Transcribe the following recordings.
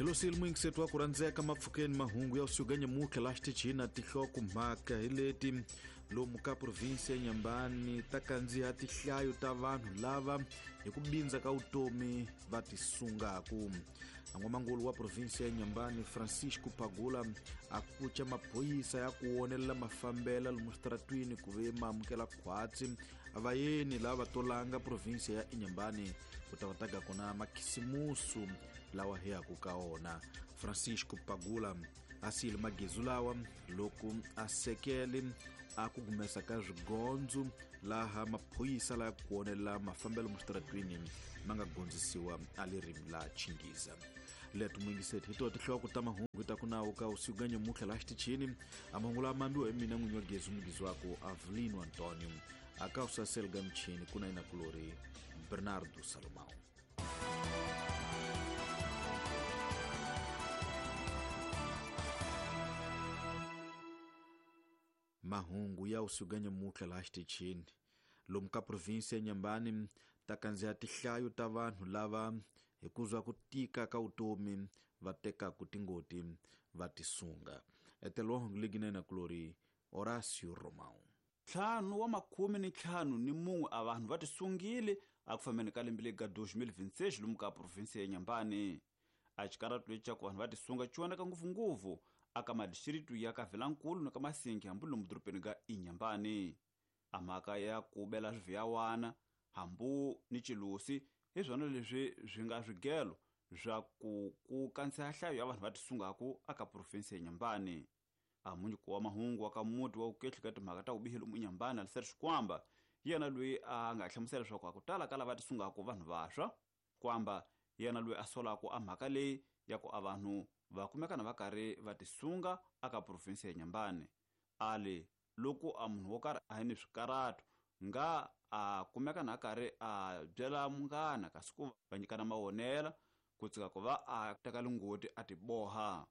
Hilosile muyingiseti wa ku rhandzeka mapfukeni mahungu ya usuku nyamutlha laha xitichini na tinhlokomhaka hi leti lomu ka provinsi ya Inhambane ta kandziha tinhlayo ta vanhu lava hi ku bindza ka vutomi va tisungaku. N'wamangulu wa provinsi ya Inhambane Francisco Pagula a kuca maphorisa ya ku wonelela mafambela lomu switaratwini ku ve ma amukela khwatsi vayeni lava tolanga provinsi ya Inhambane ku ta va taga kona makhisimusu lawa hi yaku ka wona. Francisco Pagula a siyile magezu lawa loko a sekele a ku humesa ka swigondzo laha maphorisa laya ku wonelela mafambelo musitaratwini ma nga gondzisiwa a ririmi la Chingiza. Leto muyingiseti hi to tinhloko ta mahungu ta ku nawu ka usiku ka nyamutlha laha xitichini. A mahungu lama mambiwa hi mina n'winyi wa gezu mugizi wako Avelino Antonio a ka usasel ga michini ku na inakulori Bernardo Salomão. Mahungu ya usiku nyamutlha laha xitichini lomu ka provinsi ya Inhambane ta kandziha tinhlayo ta vanhu lava hi ku zwa ku tika ka vutomi va tekaku tingoti va tisunga. Etelo wa hungu legi na inakulori Horácio Romão. 51 a vanhu va tisungile a ku fambeni ka lembe leri ga 2026 lomu ka provinsi ya Inhambane. A xikaratu lexi xa ku vanhu va tisunga xi vonaka ngopfungopfu aka madixiritu ya ka Vilankulu na ka Masingi hambi lomu dorobeni ga Inhambane. A mhaka ya ku bela swiviyawana hambu ni chilusi hi swona leswi swi nga swigelo swa ku ku kandziha nhlayo ya vanhu va tisungaku aka provinsi ya Inhambane. A munyiki wa mahungu wa ka muti wa vukehli ka timhaka ta vubihi lomu Inhambane Alistair Xikwamba yena loyi a nga hlamusela leswaku a ku tala ka lava tisungaku vanhu vantshwa. Kwamba yena loyi a solaku a mhaka leyi ya ku a vanhu va kumekana va karhi va tisunga aka provinsi ya Inhambane. Ali loko a munhu wo karhi a hi ni swikaratu nga a kumekana a karhi a byela munghana kasi ku va nyikana mawonela ku tsika ku va a teka lingoti a tiboha.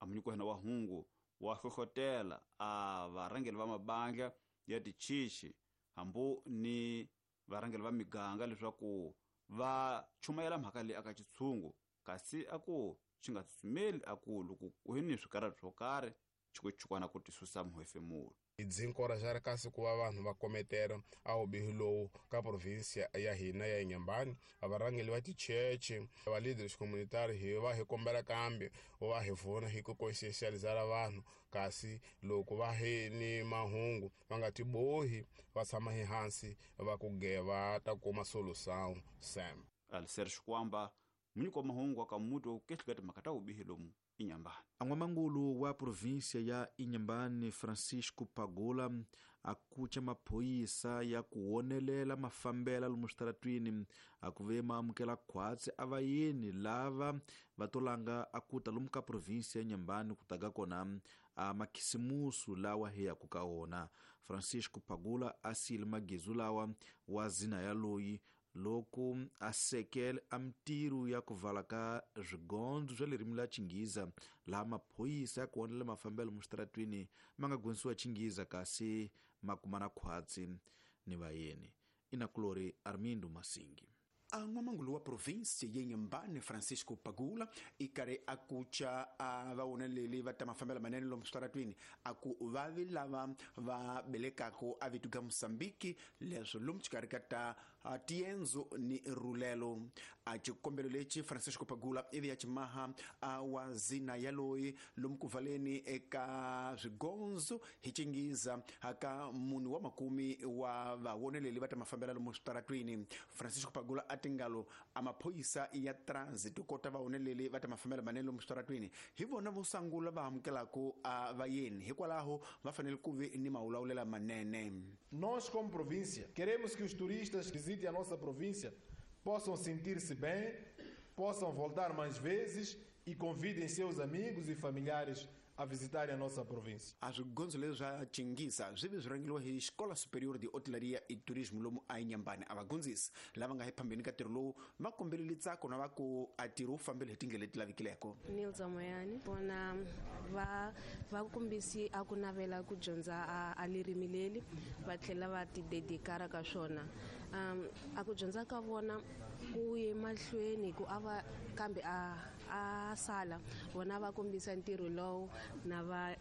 A munyiki wa hina wa hungu wa hlohlotela a varhangeri va mabandla ya tichichi hambu ni varhangeri va miganga leswaku va chumayela mhaka leyi aka xitshungu kasi a ku xi nga tsutsumeli a ku loko ku hi ni swikaratu swo karhi xikuchukwana ku tisusa muhefemulo. Hi byi nkoraxara kasi ku va vanhu va kometela a vubihi lowu ka provinsi ya hina ya Inhambane. Varhangeri va ticheche va leaders communitary hi va hi kombela kambe va hi vona hi ku conscientizara vanhu kasi loko va hi ni mahungu va nga tibohi va tshama hi hansi va ku ge va ta kuma solution sam. Alistair Xikwamba munyiki wa mahungu wa ka muti wa vukehli ka timhaka ta vubihi lomu Inhambane. N'wamangulu wa provinsia ya Inhambane Francisco Pagula a kuca maphorisa ya ku wonelela mafambela lomu switaratwini a ku ve ma amukela khwatsi a vayeni lava va tolanga a kuta lomu ka provinsia ya Inhambane ku taga kona a makhisimusu lawa hi yaku ka wona. Francisco Pagula a siyile magezu lawa wa zina ya loyi loko a sekele a mintirho ya ku vala ka swigondzo swa ririmi la Chingiza laha maphorisa ya ku wonelela mafambelo musitaratwini ma nga gondzisiwa Chingiza kasi ma kumana khwatsi ni vayeni. Inakulori Armindo Masingi. A n'wamangulu wa provinsi ya Inhambane Francisco Pagula i karhi a kuca a vawoneleli va ta mafambelo manene lomu switaratwini a ku vavi lava va belekaku a vito ga Mozambique leswo lomu xikarhi ka ta tiendzo ni rulelo. A xikombelo lexi Francisco Pagula ivi ya ximaha a wa zina ya loyi lomu ku valeni eka swigondzo hi Chingiza ka munhu wa makumi wa vawoneleli va ta mafambelo lomu switaratwini. Francisco Pagula a tingalo a maphorisa ya transit kota vawoneleli va ta mafambelo manene lomu switaratwini hi vona vo sungula va amukelaku a vayeni hikwalaho va fanele ku vi ni mawulawulela manene. Nós como província queremos que os turistas que visitem a nossa província possam sentir-se bem, possam voltar mais vezes e convidem seus amigos e familiares a visitarem a nossa província. A swigondzo leswi swa Chingiza swi vi swi rhangeriwa hi Xikola Superior de Hotelaria e Turismo lomu a Inhambane. A vagondzisi lava nga ephambeni ka ntirho lowu va kombelele ntsako na va ku a ntirho wu fambile hi tindlela leti lavekileko. Nilza Moyani vona va kombisi a ku navela ku dyondza a ririmi leri va tlhela va ti dedikara ka swona. A ku dyondza ka vona ku ye mahlweni ku a va kambe a sala vona va kombisa ntirho lowu na va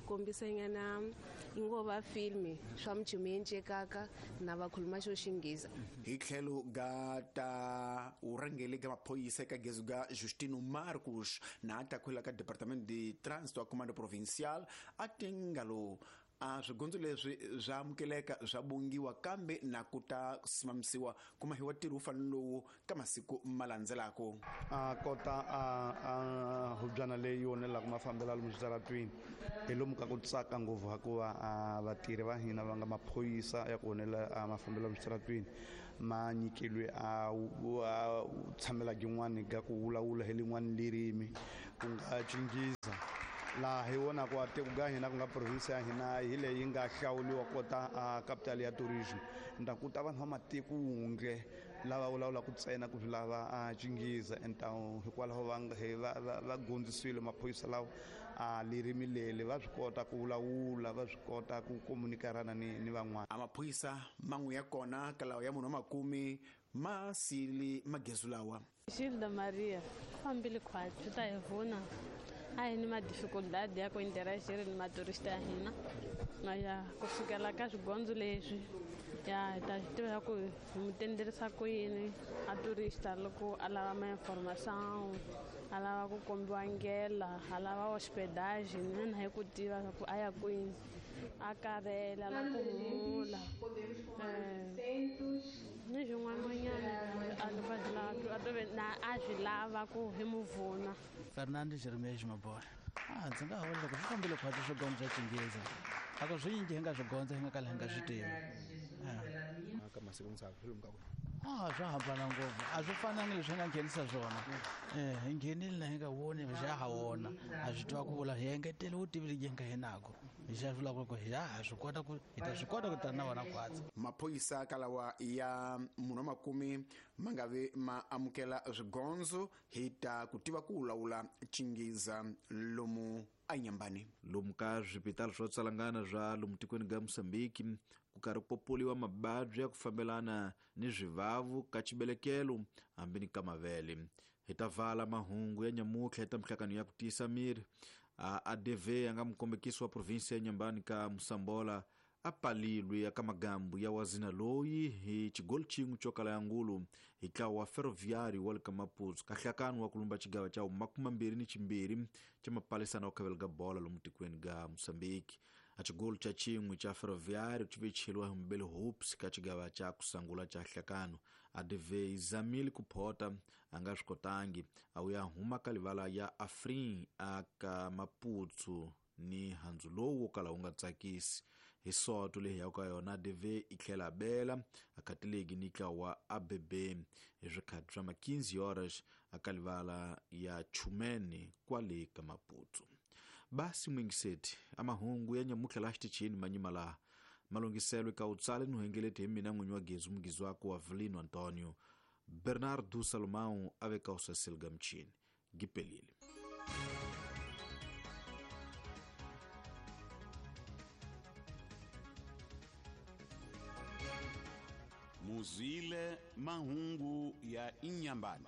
kombisanyana ingo va filmi swa mchumu yencekaka na va khuluma xo xinghezi. Hi tlhelo ga ta urhangeli ga maphoyisa eka gezu ga Justino Marcos na ta khwela ka Departamento de Trânsito a Comando Provincial a tingalo a swigondzo leswi swa amukeleka swa bongiwa kambe na ku ta simamisiwa kuma hi wa ntirho wu fanele lowu ka masiku ma landzelaka. A kota a hubyana leyi onelaka mafambelo lomu switaratwini hi lomu ka ku tsaka ngopfu hikuva vatirhi va hina va nga maphorisa ya ku onela mafambelo lomu switaratwini ma nyikilwe a tshamela gin'wani ga ku vulavula hi lin'wani lirimi ku nga Xinghezi. Laha hi vonaka a tiko ga hina ku nga province ya hina hi leyi nga hlawuriwa kota a capital ya tourism nda ku ta vanhu va matiko wundle lava vulavulaka ntsena ku swi lava a Xinghezi entawu hikwalaho va gondzisiwile maphorisa lawa a lirimi leri va swi kota ku vulavula va swi kota ku komunikarana ni van'wana. A maphorisa man'we ya kona ka lawa ya munhu wa makume ma sili magezu lawa. Gilda Maria fambile khwatsi ta hi vona a hi ni madificuldade ya ku interagir ni maturista ya hina na ya ku sukela ka swigondzo leswi ya hi ta swi tiva ku hi mu tenderisa ku yini a turista loko a lava ma-information a lava ku kombiwa ndlela a lava hospedage na hi ku tiva ku a ya kwini a karhele a lava ku humula ni swin'wananyana a swi lava ku hi mu vuna. Fernando Jeremias Mabora. Ndzi nga vula loko swi fambile khwatsi swigondzo swa Xinghezi a ku swinyingi hi nga swi gondza hi nga kala hi nga swi tivi. Ka masiku misava swi lomu ka ku swa hambana ngopfu a swi fanangi leswi hi nga nghenisa swona. Hi nghenile na hi nga voni xa ha wona a swi tiva ku vula hi engetele vutivi lebyi hi nga hinako hi xa vulaka ku hi ha swi kota ku hi ta swi kota ku tana na vona khwatsi. Maphorisa ka lawa ya munhu wa makume ma nga vi ma amukela swigondzo hi ta ku tiva ku vulavula Xinghezi lomu eNyambani. Lomu ka swipitali swo tsalangana swa lomu tikweni ga Mozambique ku karhi ku popoliwa mababyi ya ku fambelana ni swivavu ka xibelekelo hambi ni ka mavele. Hi ta vala mahungu ya nyamutlha ta mihlakano ya ku tiyisa miri. ADV a nga mukombekisi wa provinsi ya Nyambani ka Musambola a palilwe aka magambu ya wazina loyi hi xigolo xin'we xo kala ya ngulu hi ntlawa wa Ferroviário wa le ka Maputo ka nhlakano wa ku lumba xigava xa 22 xa mapalisana wa khavela ga bola lomu tikweni ga Mozambique. A xigolo xa xin'we xa Ferroviário xi vecheliwa hi Mbele Hoops ka xigava xa ku sangula xa nhlakano. ADV yi zamile ku phota a nga swi kotangi a wu ya huma ka livala ya Afrin aka Maputo ni handzu lowu wo kala wu nga tsakisi. Hi soto leyi ya ka yona ADV yi tlhela bela akatilegi ni ntlawa wa ABB hi swikhathi swa 15 horas aka livala ya Chumene kwale ka Maputo. Basi mwingiseti amahungu ya nyamutlha la xitichini manyima laha malungiselo ka utsale ni hengeleti hi mina n'winyi wa Gezu mugizi wako wa Avelino Antonio Bernardo Salomão a veka usaseli ga mchini gipelile. Muzwile mahungu ya Inyambani.